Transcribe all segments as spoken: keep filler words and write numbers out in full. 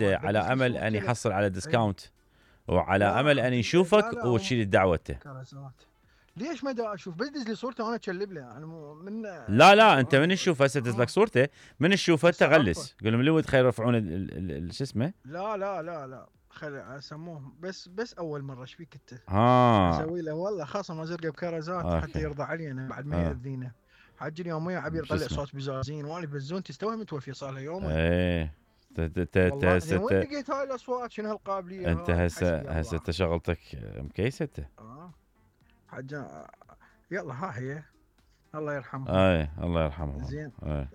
على امل ان يحصل على ديسكاونت وعلى امل ان يشوفك وتشيل دعوته. ليش ما دا اشوف؟ بس دز لي صورته وانا اشلب له يعني من لا لا انت من تشوف هسه دز لك صورته من تشوفه انت غلس قول لهم لود خير يرفعون شو اسمه. لا لا لا لا خلي اسموهم بس بس اول مره ايش فيك انت؟ ها اسوي له والله خاصه مزرقه بكرزات حتى يرضى علينا بعد ما ياذينا. حاج اليوميه عبير طلع صوت بزازين وانا بزون تستوي متوفي صار له يومين. ايه ت ت ت وين لقيت هاي الاصوات شنو هالقابليه؟ انت هسه هسه انت شغلتك مكيسه انت. اه حاج يلا ها هي الله يرحمه. اي الله يرحمه. زين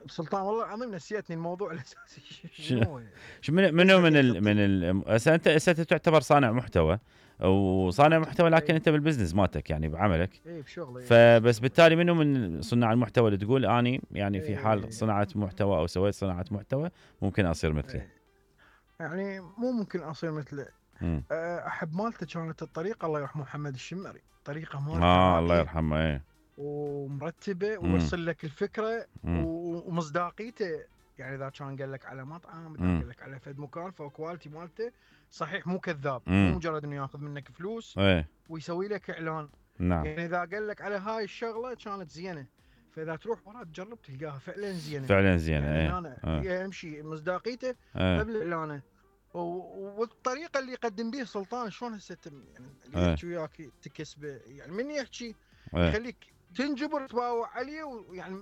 سلطان والله العظيم نسيتني الموضوع الاساسي. شنو من منو من ال من ال هسه انت هسه تعتبر صانع محتوى وصانع محتوى لكن انت بالبزنس مالتك يعني بعملك. اي بشغلي. فبس بالتالي منو من صناع المحتوى اللي تقول اني يعني في حال صناعه محتوى او سويت صناعه محتوى ممكن اصير مثله؟ يعني مو ممكن اصير مثله. احب مالته كانت الطريقه الله يرحمه محمد الشمري طريقه مالته اه الله يرحمه ايه ومرتبه ووصل لك الفكره ومصداقيته. يعني اذا كان قال لك على مطعم اذا قال لك على فد مكان فكواليتي مالته صحيح مو كذاب مو مجرد انه ياخذ منك فلوس ايه. ويسوي لك اعلان. نعم. يعني اذا قال لك على هاي الشغله كانت زينه فاذا تروح ورا تجرب تلقاها فعلا زينه فعلا زينه. يعني ايه. اهم شيء مصداقيته قبل اعلانه والطريقه اللي يقدم بها سلطان شلون هسه يعني اللي يحكي وياك تكسبه يعني من يحكي يخليك تنجبر تباوع عليه ويعني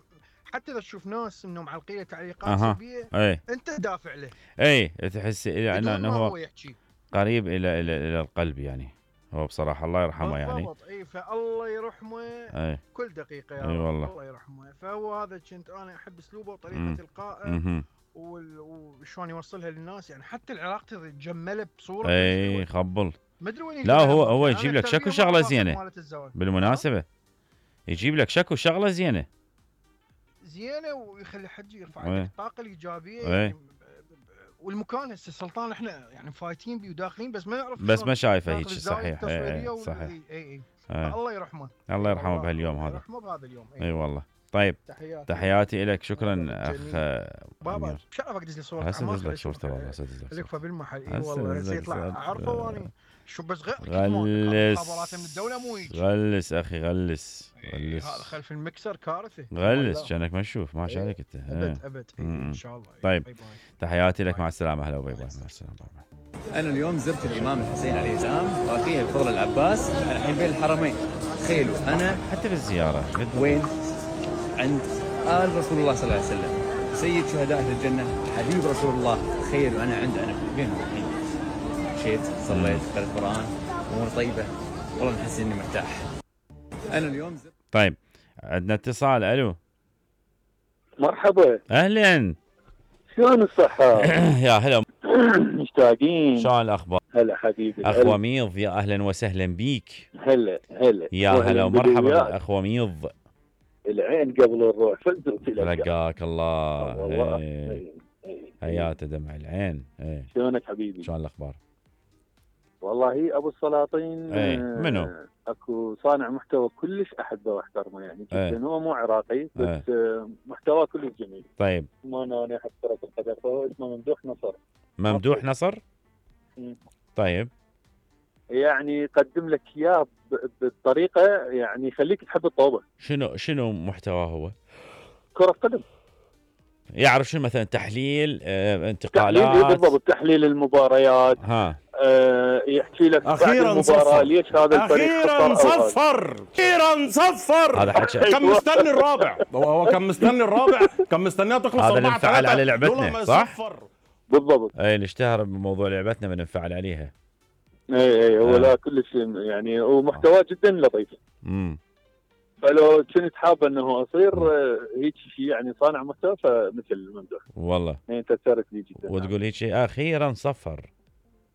حتى اذا تشوف ناس انهم معلقين تعليقات سلبيه ايه. انت دافع له. اي تحس يعني انه هو, هو قريب الى الى الى القلب يعني هو بصراحه الله يرحمه يعني. اي فالله يرحمه. اي. كل دقيقه يا اي والله الله يرحمه. فهو هذا كنت انا احب اسلوبه وطريقه القائه وشلون يوصلها للناس يعني حتى العلاقه تجملها بصوره. اي خبل. ما ادري وين. لا هو هو يجيب لك شكو شغله زينه بالمناسبه يجيب لك شكو شغله زينه زينه ويخلي حد يرفع لك الطاقه الايجابيه يعني والمكان هسه سلطان احنا يعني فايتين بيه وداخلين بس ما نعرف بس ما شايفه هيك صحيح. اي صحيح. اي اي الله يرحمه الله يرحمه بهاليوم هذا. الله يرحمه بهذا اليوم. اي أي والله. طيب تحياتي تحياتي لك شكرا اخ بابا. شرفك دز لي صورته هسه دز لك صورته والله هسه دز لك بالمحل. اي والله هسه يطلع اعرفه واني شو بس غلس غلس من الدوله مو هيك. غلس اخي غلس غلس هذا خلف المكسر كارثه غلس كانك ما تشوف ما عليك انت. ابد ابد ان شاء الله. طيب باي باي. تحياتي لك مع السلامه. هلا وباي باي. مع السلامه. انا اليوم زرت الامام الحسين عليه السلام واخيه الفضل العباس الحين بين الحرمين. تخيلوا انا حتى بالزياره وين عند آل رسول الله صلى الله عليه وسلم سيد شهداء اهل الجنه حبيب رسول الله. تخيلوا انا عند انا بينهم الحين مشيت صليت قرأت قرآن امور طيبه والله نحس اني مرتاح. انا اليوم زرت. طيب عندنا اتصال. الو مرحبا. اهلا شلون الصحه؟ يا هلا مشتاقين. شلون الاخبار؟ هلا حبيبي اخ وميض يا اهلا وسهلا بيك. هلا هلا يا هلا ومرحبا اخ وميض. العين قبل الروح فزت رقاك الله والله. حياته دمع العين. ايه شلونك حبيبي؟ شلون الاخبار؟ والله ابو السلاطين. ايه منو؟ اكو صانع محتوى كلش احبه واحترمه يعني جدا. ايه. هو مو عراقي بس ايه. محتوى كلش جميل. طيب ما انا احب كرة القدم فهو اسمه ممدوح نصر. ممدوح نصر؟ م. طيب يعني يقدم لك اياه بطريقه يعني يخليك تحب الطوبه. شنو شنو محتواه هو؟ كرة قدم. يعرف شنو مثلا تحليل اه انتقالات. تحليل بالضبط تحليل المباريات. ها اه يحكي لك اخيرا صفر ليش هذا الفريق اخيرا صفر اخيرا صفر. هذا حكي كان مستني الرابع. هو كان مستني الرابع كان مستنيها تخلص هذا اللي انفعل على لعبتنا صح؟ بالضبط. اي اللي اشتهر بموضوع لعبتنا بننفعل عليها. اي اي هو آه. لا كلش يعني ومحتواه جدا لطيف. امم فلو كنت حابه انه اصير هيك شيء يعني صانع محتوى فمثل ممدوح. والله يعني تاثرت لي جدا. وتقول هيك شيء اخيرا صفر.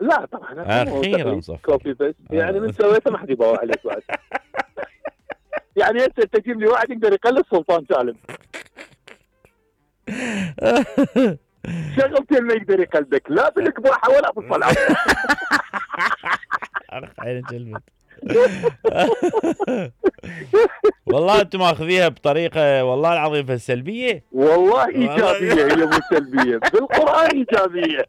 لا طبعا اخيرا صفر. كوبي بس يعني من سويته ما حد يباوع عليك بعد. يعني انت تجيب لي واحد يقدر يقلد سلطان سالم. شغلتين ما يقدر يقلدك لا بالقباحه ولا بالصلاه. انا عيني جلبت. والله انتم ماخذيها بطريقه والله العظيم سلبيه. والله ايجابيه هي مو سلبيه بالقران ايجابيه.